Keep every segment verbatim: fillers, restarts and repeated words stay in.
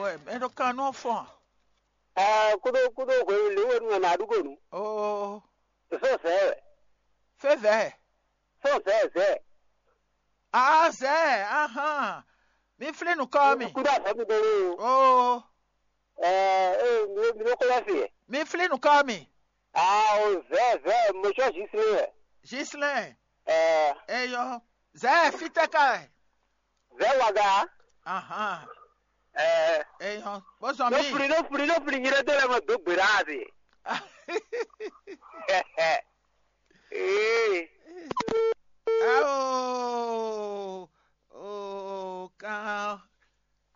Wɛ mɛ ɖo kan nɔ fɔn. Ɛɛ, kúɖó kúɖó hwenu lě we nú ɛ nǎ ɖu gonu. Oo. Fɛ́ vɛ̌ wɛ. Fɛ́ vɛ̌. Fɛ́ vɛ̌ vɛ̌. Aa zɛ̌. Ahán. Mi flí nǔkɔ mi. Kúɖó azɔ̌ mi ɖe o. Oo. Ɛɛ, ee, mi ɖo mi ɖo xó lɛ́ se. Mi flí nǔkɔ mi. Aa o, vɛ̌ vɛ̌, mo sɔ́ Zislɛ́n wɛ. Zislɛ́n. Ɛɛ. Eyɔ. Zɛ̌ fítɛ́ ka wɛ. Vɛ̌ waga. Ahán. Ɛɛ. Eyɔ. Bó zɔn mí. Ɖó fli ɖó fli ɖó fli nyí ɖé dó lɛ mɔ dó gbe ɖá a se. Ee. Ao. Oo, kan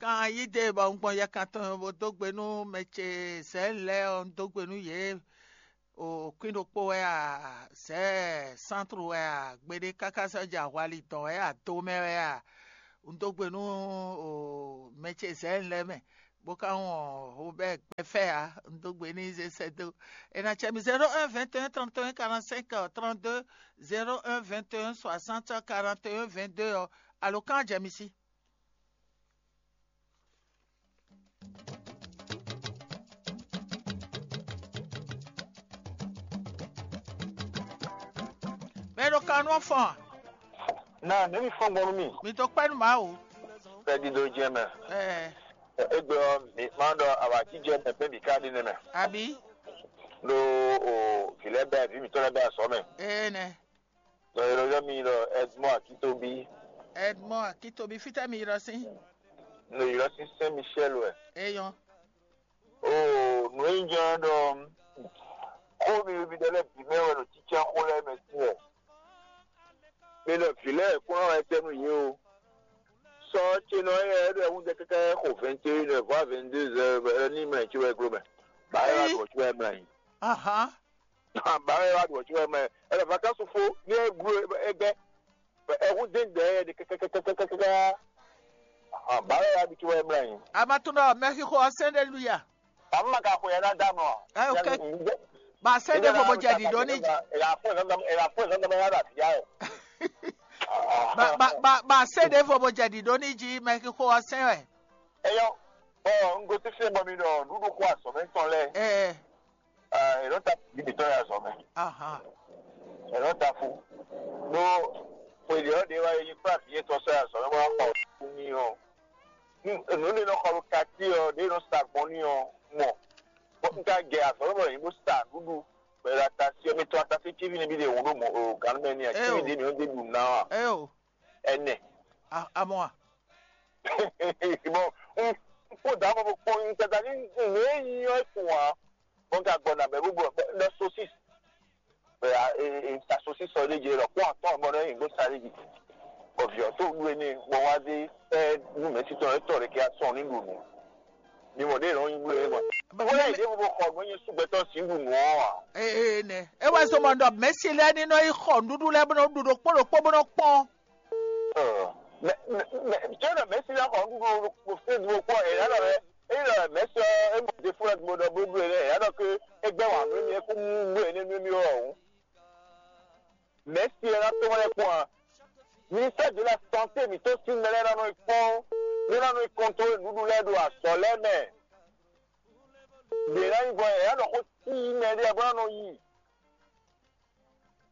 kan yí ɖe bɔ un gbɔn yɛkan tɔn bó dó gbe nú mɛ ce zɛ̌ lɛ́ɛ ɔ́, un dó gbe nú yě. O kwín ɖokpó wɛ a, zɛ̌ santru wɛ a, gbeɖé káká sɔ́ jɛ ahwali dɔn wɛ a, do mɛ wɛ a, un dó gbe nú o mɛ ce zɛ̌ lɛ́ɛ mɛ, bó ka wɔn Robert gbɛfɛ a, un dó gbe n'i zé sɛ́ dó. È nǎ cɛ mi zéro un vingt et un trente et un quarante-cinq trente-deux, zéro un vingt et un soixante quarante et un vingt-deux ɔ́, alo kan jɛ mi sí. Mɛ ɖo kan nɔ fɔn. Na ne mi fɔn gbɔn nú mi. Mi to kpɛ́ nú Mawu. Fɛ́ dídó jɛ mɛ. Ɛɛ. Egbe ɔ́, mi ma ɖɔ awǎjijɛ mɛ bɛ́ mi ka ɖi nɛmɛ. Abi. Ɖo o vǐ lɛ́ɛ bɛ vǐ mǐtɔn lɛ́ɛ bɛ azɔ̌ mɛ. Ee nɛ. Ɖɔ è nɔ ylɔ́ mi ɖɔ Edmond Akitobi. Edmond Akitobi, fítɛ́ mi ylɔ́ sín? Nɔ ylɔ́ sín Saint Michel wɛ. Eyɔn. Oo, nǔ e nyí jɛ́n ɖɔ xó mi mi ɖɔ lɛ́ɛ bǐ mɛ wɛ ɖo cícá xó lɛ́ɛ mɛ sín wɛ. Mi ɖɔ vǐ lɛ́ɛ kún ná wɛ tɛ́ nú yě o. Sɔ ce nɔ ɔ́, é ɖɔ ɛhúnjɛ káká xo vingt et une heures voire vingt-deux heures ní mɛ ci wɛ gló mɛ. Bǎ é wá ɖu ɔ̌ ci wɛ mlá yín. Ahán. Bǎ é wá ɖu ɔ̌ ci wɛ mlá yín. Ɛlɛ vacances fó ní é gló é gbɛ́. Ɛhún dé gbɛ é ɖe kɛkɛkɛkɛkɛkɛkɛ. Bǎ é wá ɖu ci wɛ mlá yín. A ma tunɔ mɛ xixo ɔ́ sɛn ɖe luya. Àmọ́ màkà xwe yẹn ná dá mọ́. Ẹ ok. Ba se ɖe vo bo jɛ ɖiɖo ní jí. Èyà fún ìzọ́ndọ́mọ èyà fún ìzọ́ndọ́mọ yàrá àti yá ẹ̀. Ba ba ba ba se ɖe vo bo jɛ ɖiɖo ní jí mɛ xixo ɔ́ sɛn wɛ. Eyɔ, bɔ n gosí fí bɔ mi ɖɔ ɖuɖu xɔ azɔ̌ mɛ tɔn lɛ. Ɛ Ɛ, è nɔ ta fí mi tɔn yà azɔ̌ mɛ. Aha. È nɔ ta fú. Ɖó xweyǐ ɔ́ ɖě wá yi kplá vǐ yětɔn sɔ́ yà azɔ̌ mɛ bó wá xɔ nú mì ɔ́. Nǔ ɖé nɔ xɔ ɖo kati ɔ́ ɖě nɔ sa gbɔn n'i ɔ́ mɔ. Bɔ un ka gɛ azɔ̌ bɔ yě bó sa nǔɖuɖu bɔ è ɖo atasí ɔ́ mɛ tɔn atasí cíví nɛbí ɖe hǔn ɖo mɔ o gǎn mɛ n'i ǎ cíví ɖě mǐ nɔ ɖe ɖu ná ɔ́. Eo. Ɛnɛ. Amɔ a. Bɔ un kpó dǎ mɔ bó kpɔ́n un tata ní nǔ e nyí ɔ́ kún ǎ. Bɔ un ka gbɔ nǎ bɛ bó gbɔ nɔ sosis. Bɛ a e e ta sosis ɔ́ ɖé jɛ lɔ kpɔ́n atɔ́ bɔ nɔ nyi gbó sa ɖé jì. Bɔ vǐ ɔ́ tó ɖu énɛ́ bɔ wá dé ɛ nú mɛ̌si tɔn é tɔ ɖé ké asɔn ní ɖu nǔ. Mi mɔ ɖé lɔn nyi bló é mɔ. Wọ́n yà ìdí gbogbo xɔ gbé nyi súgbẹ́tọ̀ sí ɖu nǔ ɔ́ ǎ. Ee nɛ. E wɛ zɔn mɔ ɖɔ mɛ̌si lɛ́ɛ ní nɔ yi xɔ nǔɖuɖu lɛ́ɛ bó nɔ ɖu ɖokpó ɖokpó bó nɔ kpɔ́n. Ɔ, mɛ mɛ mɛ tí ó nɔ mɛ̌si lɛ́ɛ xɔ nǔɖuɖu ɖo Facebook kpɔ́n è nǎ ɖɔ é é ɖɔ mɛ̌si ɔ́ é mɔ ɖěfó lɛ́ɛ gbogbo ɖɔ bó ɖu é lɛ́ɛ è nǎ ɖɔ ké é gbɛ́ wǎn nú émí é kú nú bló é nɛ́ nú émí ɔ́ hǔn. Mɛ̌si ɔ́ ná tɔ́n lɛ́ɛ kpɔ́n ǎ. Ministère de la santé mǐtɔn sín mɛ lɛ́ɛ ná nɔ yi kpɔ́n bó ná nɔ yi kɔntrolé nǔɖuɖu lɛ́ɛ ɖo azɔ̌ lɛ́ɛ mɛ. Ɖě ná nyí vɔ è nǎ ɖɔ xó cí mɛ ɖé bó ná nɔ yi.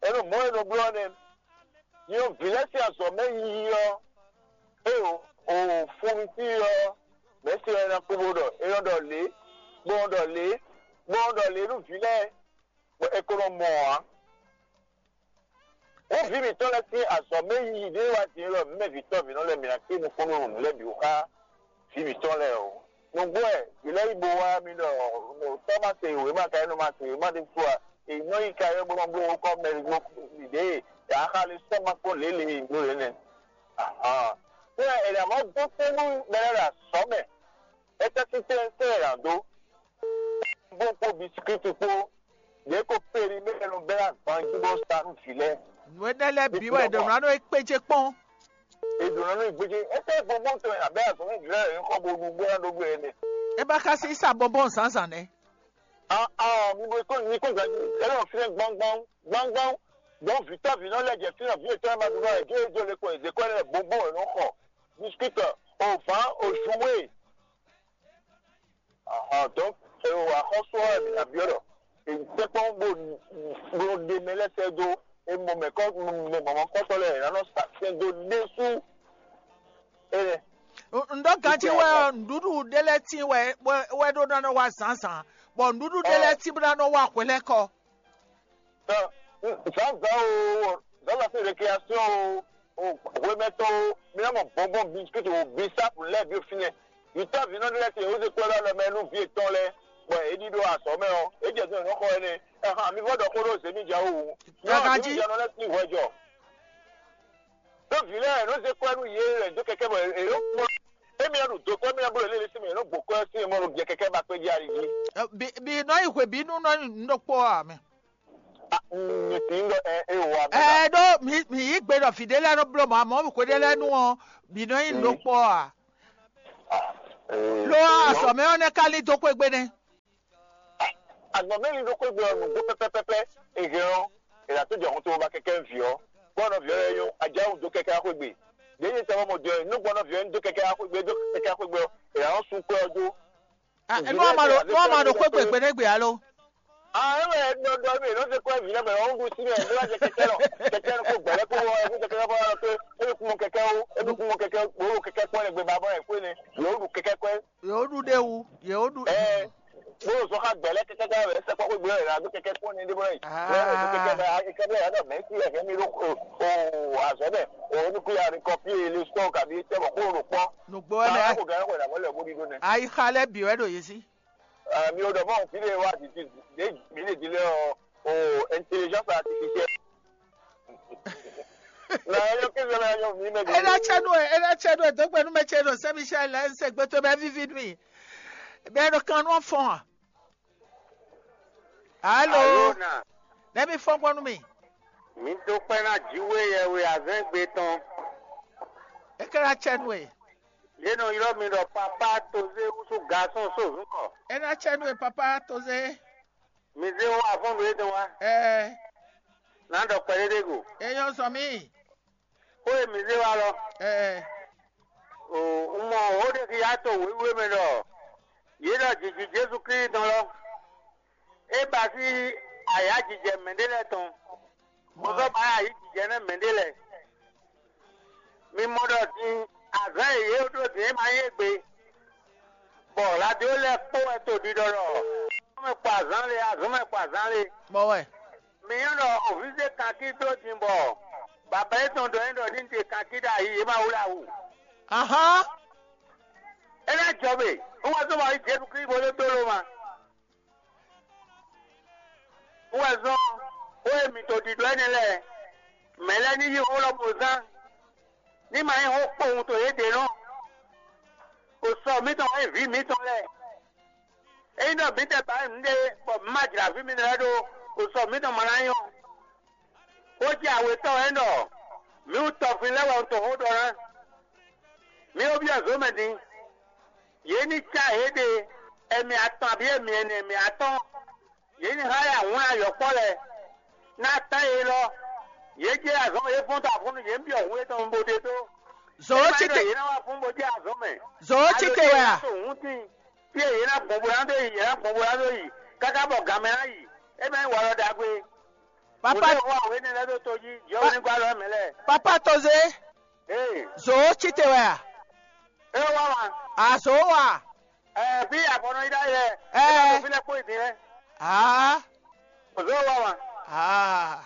É ɖo mɔ̌ e nɔ bló ɔ́ nɛ́. Nyɔ vǐ lɛ́ɛ sín azɔ̌ mɛ yiyi ɔ́, é o o fúnnu sí ɔ́, mɛ̌si ɔ́ é ná kú bó ɖɔ é nɔ ɖɔ lě, bó nɔ ɖɔ lě, bó nɔ ɖɔ lě nú vǐ lɛ́ɛ, bɔ è ko nɔ mɔ ǎ. Xó vǐ mǐtɔn lɛ́ɛ sín azɔ̌ mɛ yiyi ɖé wá din wɛ mǐ mɛ vǐ tɔn vǐnɔ lɛ́ɛ mǐ ná kpé nukúnnú nǔ lɛ́ɛ bǐ xá vǐ mǐtɔn lɛ́ɛ o. Nǔgbó wɛ vǐ lɛ́ɛ yi bo wá mì ɖɔ tɔ́ ma se wěma ka é nɔ ma se wěma ɖé fú a? È nɔ yi ka yɔ bó nɔ bló kɔ́ mɛ ɖě yě axá lé sɔ́ ma kpɔ́n lě lě e è bló lě nɛ́. Ahan. Fí wɛ è nǎ mɔ dó kpé nú mɛ lɛ́ɛ ɖo azɔ̌ mɛ. Étɛ́ sín tɛ́ntin è nǎ dó? Bó kpó bisikíti kpó, yě ko perimɛ́ nɔ bɛ́ agban jí bó sa nú vǐ lɛ́ɛ. Nǔ énɛ́ lɛ́ɛ bǐ wɛ è ɖǒ ná nɔ é kpéjé kpɔ́n. È ɖǒ ná nɔ é gbéjé. Étɛ́ gbɔngbɔn tɔn abɛ́ azɔ̌ nú vǐ lɛ́ɛ è xɔ bo ɖu bó ná ɖó bló énɛ́. É ba ka sí sa bɔnbɔn zǎnzǎn nɛ́. Aa, mi bo kó mi kó gǎnjí. É nɔ fínɛ́ gbángbán gbángbán. Gbɔn vǐtɔ́ vǐnɔ lɛ́ɛ jɛ fínɛ́ vǐ yětɔn e ma ɖu nɔ è gé é jó le kɔ è zě kɔ́ lɛ́ɛ bɔnbɔn è nɔ xɔ. Bisikíti, ovǎn, ozúwe. Donc, e o axɔ́sú ɔ́ wɛ mǐ ná byɔ́ ɖɔ è sɛkpɔ́ bó bó ɖe mɛ lɛ́ɛ sɛ́ dó, e mɔ mɛ kɔ́ mɛ mɔ̌mɔ́kɔ́tɔ́ lɛ́ɛ è nǎ nɔ sa sɛn dó ɖésú. Énɛ́. Un ɖɔ ganjí wɛ ɔ́, nǔɖuɖu ɖé lɛ́ɛ tíin wɛ wɛ ɖó ná nɔ wá zǎnzǎn, bɔ nǔɖuɖu ɖé lɛ́ɛ tíin bó ná nɔ wá hwelɛ́kɔ. Zǎnzǎn o, zǎnzǎn sín récréation o, o hwemɛtɔn o, mi ná mɔ bɔnbɔn biscuit o, bisapu lɛ́ɛ bǐ o fínɛ́. Yǐtɔ́ vǐnɔ ɖé lɛ́ɛ se, ó se kpɔ́ ɖó alɔ mɛ nú vǐ yětɔn lɛ́ɛ, bɔ é ɖíɖó azɔ̌ mɛ ɔ́, é jɛ din nǔ xɔ énɛ́. Ɛhan, mi vɔ́ ɖɔ xó ɖó zěmíjɛ wú. Zěmíjɛ nɔ lɛ́ sín hwɛ jɔ. Ɖó vǐ lɛ́ɛ nɔ zé kwɛ́ nú yě wɛ dó kɛkɛ́ bɔ è nɔ kpɔ́n. Émí ɔ́ ɖo do kpɔ́, émí ɔ́ bló lě lě sín mɛ, è nɔ gbǒ kwɛ́ sín mɔ ɖo biɛ kɛkɛ́ ba kpé jí ali jí. Bi nɔ yi hwebǐnu nɔ nyi nǔ ɖokpó ɔ́ ǎ mɛ. Mi tín ɖɔ ɛ é wɔ abɛ. Ɛ ɖó mi mi yí gbe ɖɔ vǐ ɖé lɛ́ɛ nɔ bló mɔ̌, amɔ̌ hwe ɖé lɛ́ɛ nu ɔ́, bǐ nɔ nyi nǔ ɖokpó ɔ́ ǎ. Lo ɔ́, azɔ̌ mɛ ɔ́ nɛ́ ka lín dó xwé gbe nɛ́. Azɔ̌ mɛ lín dó xwé gbe ɔ́, nǔgbó pɛ́pɛ́pɛ́pɛ́ è hɛn ɔ́, è nǎ tó jɛ hun to ba kɛkɛ́ vǐ ɔ́, bɔ nɔví ɔ́ lɛ́ɛ nyɔ́, a jǎ wǔ dó kɛkɛ́ wá xwé gbe. Ɖěe nyɛ tɛ wɔ mɔ jɔ nú gbɔn nɔví ɔ́ dó kɛkɛ́ wá xwé gbe, dó kɛkɛ́ wá xwé gbe ɔ́, è nǎ nɔ sú kwɛ́ ɔ́ jó. Nú a ma ɖo nú a ma ɖo xwé gbe gbeɖé gbe alo? Ah, é wɛ é ɖɔ ɖɔ mɛ nɔ se kɔ vǐ lɛ́ɛ mɛ ɔ́ ɖu sí mɛ bó wá jɛ kɛkɛ lɔ kɛkɛ lɔ kó gbɛlɛ kó wɔ ɛkú kɛkɛ lɔ bó wá lɔ pé é kún mɔ kɛkɛ ó é kún mɔ kɛkɛ bó ɖo kɛkɛ kpɔ́n lɛ gbé ba bɔ ɛ kó ne yě ó ɖu kɛkɛ kɔ́. Yě ó ɖu ɖé wu, yě ó ɖu. Ɛ bó ɖo zɔn xá gbɛlɛ kɛkɛ kɛkɛ wɛ sɛ kɔkɔ gbé wɛ la ɖo kɛkɛ kpɔ́n ne ɖé bɔ yìí. Ah. Wɛ ɖo kɛkɛ bɛ kɛkɛ bɛ yà dɔ mɛ sí ɛkɛ mi ɖo o o azɔ bɛ o ní kú ya ní kɔpi le sɔ kabi tɛ bɔ kó ɖo kpɔ́n. Nùgbó wɛ mɛ. Báwo kò gán kò dàgbọ́ lẹ̀ bó ɖi ɖó nɛ. Ayixa lɛ bǐ wɛ ɖo yě sí. Mi ò ɖɔ mɔ fí ɖé wá títí ɖé mǐ lè di lé ɔ o intelligence artificielle. Na yɔ kí sọ na yɔ mí mɛ di. Ena tsɛ nu ena tsɛ nu dogbe nu mɛ tsɛ nu sɛbi tsɛ lɛ se gbeto bɛ vivi nu yi. Bɛ ɖo kan nu fɔn a. Alo. Alo na. Nɛ mi fɔn gbɔ nu mi. Mi do kpɛ na jiwe yɛ we azɛn gbe tɔn. Ekela tsɛ nu e. Yé nɔ ylɔ́ mi ɖɔ papa toze wúsú gasɔn só zun kɔ. Ena tsɛ nu e papa toze. Mi zé wá afɔ́n ɖo étɛn wá. Ɛɛ. Nǎ ɖɔ kpɛɖéɖé go. Eyɔ́ zɔn mì. Xó e mi zé wá lɔ. Ɛɛ. O un mɔ xó ɖé xi yá to wěwé mɛ ɖɔ yě ɖɔ jǐjí Jezu Klísu tɔn lɔ. É ba sí ayǎjijɛ mɛɖé lɛ́ɛ tɔn. Bó sɔ́ ba ayǐjijɛ nɛ́ mɛɖé lɛ́ɛ. Mi mɔ ɖɔ din azǎn e yě ɖó din é ma nyí égbé, bɔ radio lɛ́ɛ kpó wɛ to ɖiɖɔ ɖɔ azɔn mɛ kpó azǎn lé, azɔn mɛ kpó azǎn lé. Mɔ wɛ. Mi nyɔ́ ɖɔ òvízé kankí dó din bɔ baba yětɔn ɖɔ é ɖɔ ní ɖe kankí ɖo ayi yě ma wlá wú. Ahán. É ná jɔ mɛ, un wá tó ma yí Jezu Klísu bó dó dó ló ma. Wɛ zɔ́n xó e mǐ to ɖiɖɔ énɛ́ lɛ́ɛ, mɛ̌ lɛ́ɛ ní yí xó lɔ bó zán, ní ma nyí xó kpowun to yěɖée nɔ. Xo sɔ mǐtɔn wɛ nyí vǐ mǐtɔn lɛ́ɛ. Ényí ɖɔ mǐtɛn ba nyí nǔɖé bɔ mǐ ma jlǎ vǐ mǐtɔn lɛ́ɛ ɖó, xo sɔ mǐtɔn ma ná nyɔ́. Xó jɛ awětɔn wɛ ɖɔ mǐ wú tɔfin lɛ́ɛ wɛ un to xó ɖɔ ná. Mǐ ko byɔ́ zǒ mɛ din. Yě ní cá yěɖée, ɛmɛ atɔn abǐ ɛmɛ ɛnɛ, ɛmɛ atɔ́ɔ́n. Yě ní hán yá wlán yɔ̌kpɔ́ lɛ́ɛ, ná tán yě lɔ. Yě jɛ azɔn yě fɔ́n ta fún nú yě byɔ́ hun étɔn bó ɖe dó. Zǒ cí te. Yě ná wá fún bó jɛ azɔn mɛ. Zǒ cí te wɛ a? Hun tín, fí e yě ná gbɔn bó ná dó yi, yě ná gbɔn bó ná dó yi, káká bɔ gǎn mɛ ná yi. É mɛ nyí walɔ ɖagbe. Papa. Wǒ wá wě nɛ́ lɛ́ɛ ɖó tó jí, jɛ wé ní gbá lɔ mɛ lɛ́ɛ. Papa Tozé. Ee. Zǒ cí te wɛ a? É wá wá. Azǒ wa. Ɛɛ, bí afɔnɔ yi ɖ'ayɛ. Ɛɛ. Fi lɛ kpó yi din lɛ. Aa. Ozɔ wa wa. Aa.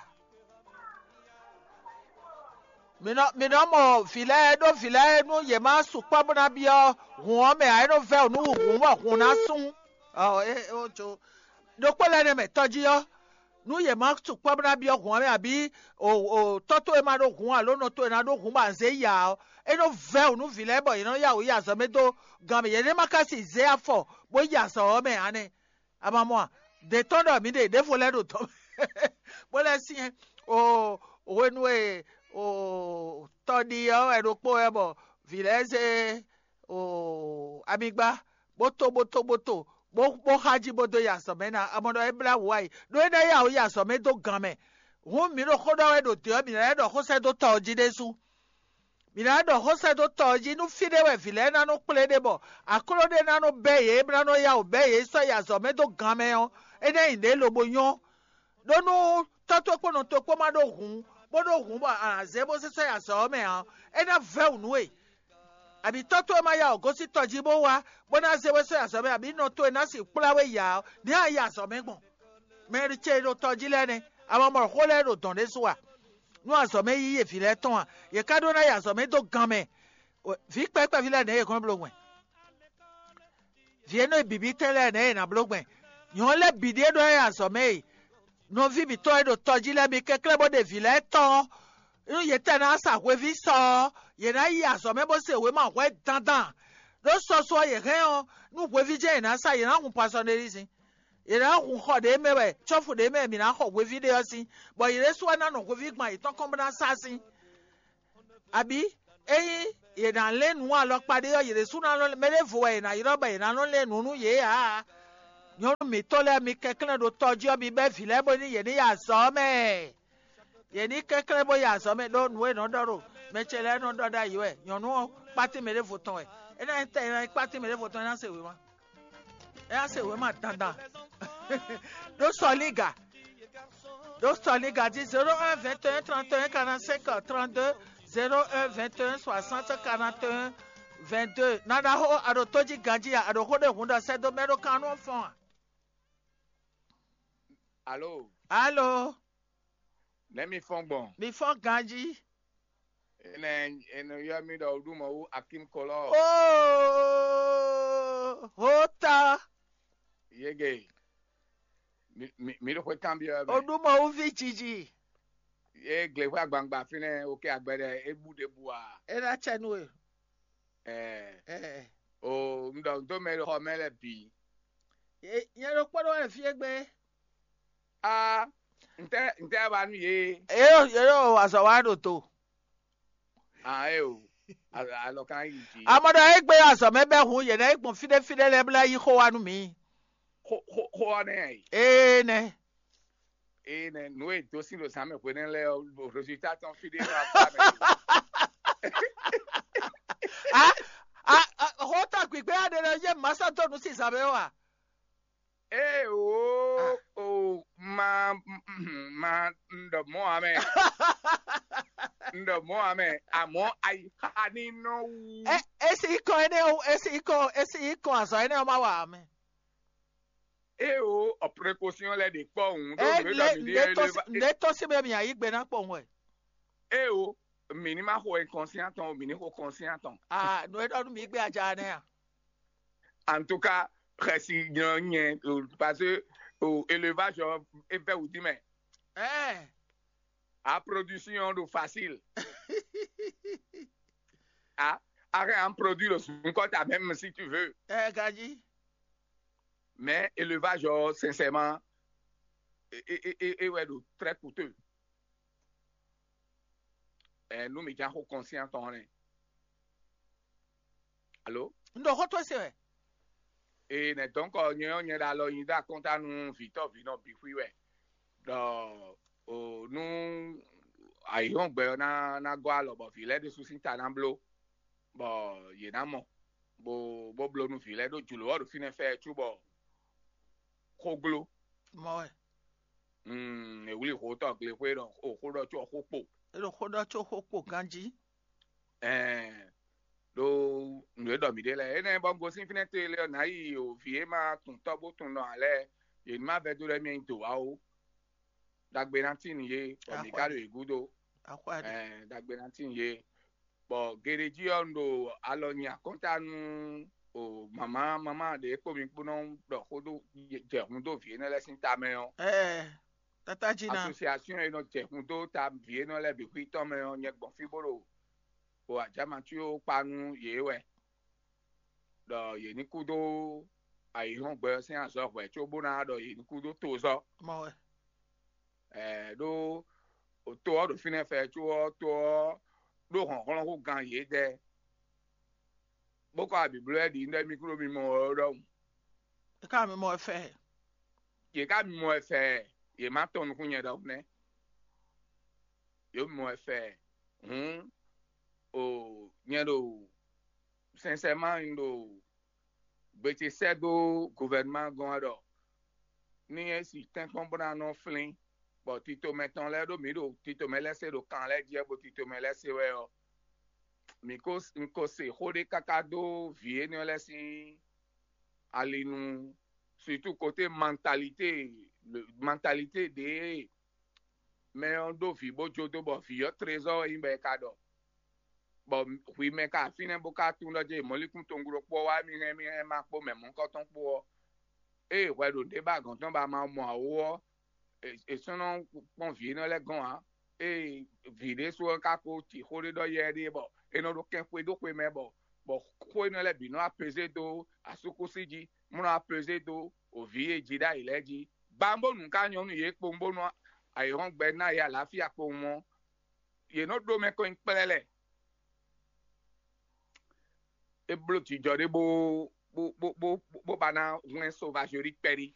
Mǐ nɔ mǐ nɔ mɔ vǐ lɛ́ɛ ɖó vǐ lɛ́ɛ nú yě má sukpɔ́ bó ná byɔ́ hǔn ɔ́ mɛ ǎ, é nɔ vɛ́ wǔ nú hǔn bɔ hǔn ná sún. Ɔ é ó jo. Ɖokpó lɛ́ɛ nɛ́ mɛ tɔjí ɔ́, nú yě má sukpɔ́ bó ná byɔ́ hǔn ɔ́ mɛ abǐ o o tɔ́ towe ma ɖó hǔn alo nɔ towe ná ɖó hǔn bɔ a zě yi ǎ ɔ́, é nɔ vɛ́ wǔ nú vǐ lɛ́ɛ bɔ yě nɔ yá wǔ yi azɔ̌ mɛ dó gan mɛ. Yě ní ma ka si zé afɔ bó yi azɔ̌ ɔ́ mɛ ǎ nɛ́. A ma mɔ a? Dě tɔn ɖɔ mǐ ɖe ɖěvo lɛ́ɛ ɖo dɔ̌ mɛ bó lɛ́ syɛ́n o hwenu e o tɔɖi ɔ́ wɛ ɖokpó wɛ bɔ vǐ lɛ́ɛ zé o amigba bó to bó to bó to bó bó xa jí bó dó yi azɔ̌ mɛ ná. A mɔ ɖɔ é blá wǔ wá yi ɖó é ná yá wǔ yi azɔ̌ mɛ dó gan mɛ. Hǔn mǐ ɖo xó ɖɔ wɛ ɖo dě ɔ́, mǐ ná lɛ́ ɖɔ xó sɛ́ dó tɔ ɔ́ jí ɖésú. Mǐ ná ɖɔ xó sɛ́ dó tɔ ɔ́ jí nú fí ɖé wɛ vǐ lɛ́ɛ ná nɔ kplé ɖe bɔ akló ɖé ná nɔ bɛ́ yě bó ná nɔ yá wǔ bɛ́ yě sɔ́ yi azɔ̌ mɛ dó gan mɛ ɔ́, é ná nyí nǔɖé lobo nyɔ́. Ɖó nú tɔ́ towe kpó nɔ towe kpó ma ɖó hǔn, bó ɖó hǔn bɔ a nǎ zé bó sésɔ́ yi azɔ̌ ɔ́ mɛ ǎ, é ná vɛ́ wǔ nú we. Abǐ tɔ́ towe ma yá wǔ gosín tɔ jí bó wá, bó ná zé we sɔ́ yi azɔ̌ mɛ, abǐ nɔ towe ná sixú kplá we yi ǎ ɔ́, nɛ̌ a yi azɔ̌ mɛ gbɔn? Mɛ ce e ɖo tɔ jí lɛ́ɛ nɛ́, a ma mɔ xó lɛ́ɛ ɖo dɔ̌n ɖésú a? Nú azɔ̌ mɛ yíyí e vǐ lɛ́ɛ tɔn a? Yě ká ɖó ná yi azɔ̌ mɛ dó gan mɛ. Vǐ kpɛví lɛ́ɛ nɛ̌ yě kɔn bló gbɛn? Vǐ énɛ́ e bǐbí tɛn lɛ́ɛ nɛ̌ yě ná bló gbɛn? Nyɔ̌nu lɛ́ɛ bǐ ɖíe ɖó ná yi azɔ̌ mɛ e nɔví mǐtɔn e ɖo tɔ jí lɛ́ɛ mi kɛnklɛ́n bó ɖe vǐ lɛ́ɛ tɔn ɔ́, nú yě tɛn ná sa hweví sɔ ɔ́, yě ná yi azɔ̌ mɛ bó se wěma hwɛ dandan. Ɖó sɔsɔ ɔ́, yě hɛn ɔ́, nú hweví jɛ́n yě ná sa, yě ná hun pasɔnelízin. Yě ná hun xɔ ɖě mɛ wɛ, cɔ́fu ɖě mɛ mǐ ná xɔ hweví ɖé ɔ́ sín, bɔ yě ɖésú wɛ ná nɔ hweví gban yětɔn kɔn bó ná sá sín. Abǐ ényí yě ná lɛ́n nǔ alɔkpa ɖé ɔ́, yě ɖésú ná nɔ mɛ ɖěvo wɛ yě ná ylɔ́ bɔ yě ná nɔ lɛ́n nǔ nú yě ǎ. Nyɔ̌nu mǐtɔn lɛ́ɛ, mi kɛnklɛ́n ɖo tɔ jí ɔ́, mi bɛ́ vǐ lɛ́ɛ bónú yě ní yi azɔ̌ ɔ́ mɛ. Yě ní kɛnklɛ́n bó yi azɔ̌ mɛ ɖó nǔ e nɔ ɖɔ ɖo mɛ ce lɛ́ɛ nɔ ɖɔ ɖ'ayǐ wɛ. Nyɔ̌nu ɔ́, kpátín mɛ ɖěvo tɔn wɛ. É ná nyí tɛ é ná nyí kpátín mɛ ɖěvo tɔn é ná se wěma. É ná se wěma dandan. Ɖó sɔlíga. Ɖó sɔlíga jí zéro un vingt et un trente et un quarante-cinq trente-deux, zéro un vingt et un soixante quarante et un vingt-deux. Nana xó a ɖo tó jí ganjí a, a ɖo xó ɖé hun ɖɔ sɛ́ dó mɛ ɖó kan nú fɔ́n a? Alo, Alo, nɛ̌ mi fɔ́n gbɔn? Mi fɔ́n ganjí. Enɛ enɛ yɔ mi ɖɔ ɖu mɔ wú Akim Kɔlɔ. Oh, hota. Yege. Mi mi mi ɖo xwe kan biɔ O mɛ. ɖu mɔ wú vi jiji. Ye gle xwe agbangba fínɛ o ke agbɛ ɖe e bu ɖe bu a. E na tsɛ nu e. Ɛɛ Eh. o n ɖɔ n do mɛ ɖo xɔ mɛ lɛ bi. Ye ye ɖo kpɔɖɔ wɛ fie gbe. A n tɛ n tɛ ba nu ye. Ye ɖo ye ɖo azɔ wa ɖo to. A e o. A- Alɔ kan yi ji. Amɔ ɖɔ egbe azɔ mɛ bɛ hun ye na yi gbɔn fi ɖe fi ɖe lɛ bla yi xo wa nu mi. Xo xo xo ɔ nɛ yi. Ee nɛ. Eye nɛ nu e do sin ɖo zan mɛ hwenɛ́ lɛ ɔ, résultat tɔn fi ɖé nɔ akpa mɛ. A a a xɔ ta gbigbe aɖe lɛ ye masa dɔ nu si zan mɛ wa. Ee o o ma ma n ɖɔ mɔ amɛ. N ɖɔ mɔ amɛ amɔ ayi xa ni nɔ wu. Ɛ esi kɔ ene o esi kɔ esi kɔ azɔ ene o ma wa amɛ. Ee o ɔ précaution lɛ ɖe kpɔ òun ɖo Ɛ nǔ e le ɖɔ mi le ɖe tɔsi le tɔsi bɛ mi ayi gbe na kpɔ ŋwɛ. Ee o mi ní ma xo inconscient tɔn o mi ní xo conscient tɔn. Ah, nu e ɖɔ nu mi gbe aja nɛ a? En tout cas, xɛsi nyɔ nyɛ o, parce que o élevage ɔ e bɛ wudi mɛ. Ɛ A production ɖo facile. A a hɛn an produit le sunkɔ ta même si tu veux. ɛ gaji. Mais élevage ɔ sincèrement e e e e wɛ ɖo très coûteux. Ɛ nu mi jan xo conscient tɔn nɛ. Alo. N ɖo xɔ to se wɛ. Ee nɛ donc nyɛ ɔ́ nyɛ ɖo alɔ nyi ɖo akɔnta nú vǐtɔ́ vǐnɔ bǐ xwí wɛ. Ɖɔ o nú ayǐhɔ́ngbe ɔ́ ná ná gɔ́ alɔ bɔ vǐ lɛ́ɛ ɖésú sín ta ná bló, bɔ yě ná mɔ bó bó bló nú vǐ lɛ́ɛ ɖó jlǒ ɔ́ ɖo fínɛ́ fɛ́ cóbɔ xó gló. Mɔ wɛ. Mm, è wlí hǒtɔ glexwé ɖɔ o xó ɖɔ có xó kpo. E ɖo xɔ ɖɔ tso xɔ kpo ganji. Ɛɛ ɖo nǔ e ɖɔ mǐ ɖe lɛ́ɛ énɛ́ bɔ un gosín fínɛ́ te lé ɔ́ nǎ yi o vǐ e ma tun tɔ́ bó tun nɔ ǎ lɛ́ɛ yě ní ma vɛdó lɛ́ɛ mì nyi dǒ wá ó. Ɖagbe ná tín yě bɔ mǐ ka ɖo yě gúdo. Axɔ ɖe. Ɛɛ ɖagbe ná tín yě bɔ geɖejí ɔ́ un ɖo alɔ nyi akɔ́nta nú o mama mama ɖě kpó mi kpó nɔ ɖɔ xó dó jɛ hun dó vǐ énɛ́ lɛ́ɛ sín tamɛ ɔ́. Ɛ tata dzi na. Association e nɔ jɛ hun dó ta vǐ énɛ́ lɛ́ɛ bǐ xwítɔ́ mɛ ɔ́ nyɛ gbɔn fí bó ɖo o ajamatíwo kpa nú yě wɛ ɖɔ yě ní kú dó ayǐhɔ́ngbe ɔ́ sín azɔ̌ hwɛ̌ cóbó ná ɖɔ yě ní kú dó tozɔ́. Mɔ wɛ. Ɛɛ ɖó to ɔ́ ɖo fínɛ́ fɛ có ɔ́ to ɔ́ ɖó hlɔ̌nhlɔ́n hú gan yědɛɛ bó kɔ abǐbló lɛ́ɛ ɖi nú ɖɔ mí kúɖó mimɔ ɔ́ ɖɔhun. E ka mi mɔ fɛ. Yě ká mimɔ ɛ fɛ yě má tɔn nukún nyɛ ɖɔhun nɛ́. Yě mimɔ ɛ fɛ hǔn O nyɛ ɖo sincèrement un ɖo gbe ce sɛ́ dó gouvernement gɔ́n wɛ ɖɔ ní é si tɛ́nkpɔ́n bó ná nɔ flín, bɔ titomɛ tɔn lɛ́ɛ ɖó mǐ ɖo titomɛ lɛ́ɛ se ɖo kan lɛ́ɛ jí wɛ, bó titomɛ lɛ́ɛ se wɛ ɔ́, mǐ ko un ko se xó ɖé káká dó vǐ énɛ́ lɛ́ɛ sín ali nu, surtout côté mentalité mentalité ɖě mɛ ɔ́ ɖó vǐ bó jó dó bɔ vǐ ɔ́ trezɔ́ wɛ nyí bɔ è ka ɖɔ, bɔ hwi mɛ ka fínɛ́ bó ka tunwun ɖɔ jɛ mɔ̌likún tonglo kpó wá mì hɛn mì hɛn ma kpó mɛ mɔ̌kɔtɔn kpó ɔ́, ée hwɛ ɖo ɖě ba gɔ̌n tɔn ba ma mɔ awó ɔ́, è sɔ́ nɔ kpɔ́n vǐ énɛ́ lɛ́ɛ gɔ́n ǎ. Ée vǐ ɖésú ɔ́ ka ko ci xó ɖé ɖɔ yɛ ɖé bɔ é nɔ ɖo kɛn xwedó xwe mɛ bɔ bɔ xó énɛ́ lɛ́ɛ bǐ nɔ apezé dó asúkúsi jí, mɔ nɔ apezé dó òvǐ e jí ɖ'ayǐ lɛ́ɛ jí. Bambónu ka nyɔ́ nú yě kpowun bónú ayǐhɔ́ngbe ná yě aláfíà kpowun ɔ́, yě nɔ ɖó mɛ kɔn nyi kplɛ́lɛ́. É bló jijɔ ɖé bó bó bó bó bó ba ná hwlɛ́n sovazoli kpɛɖí.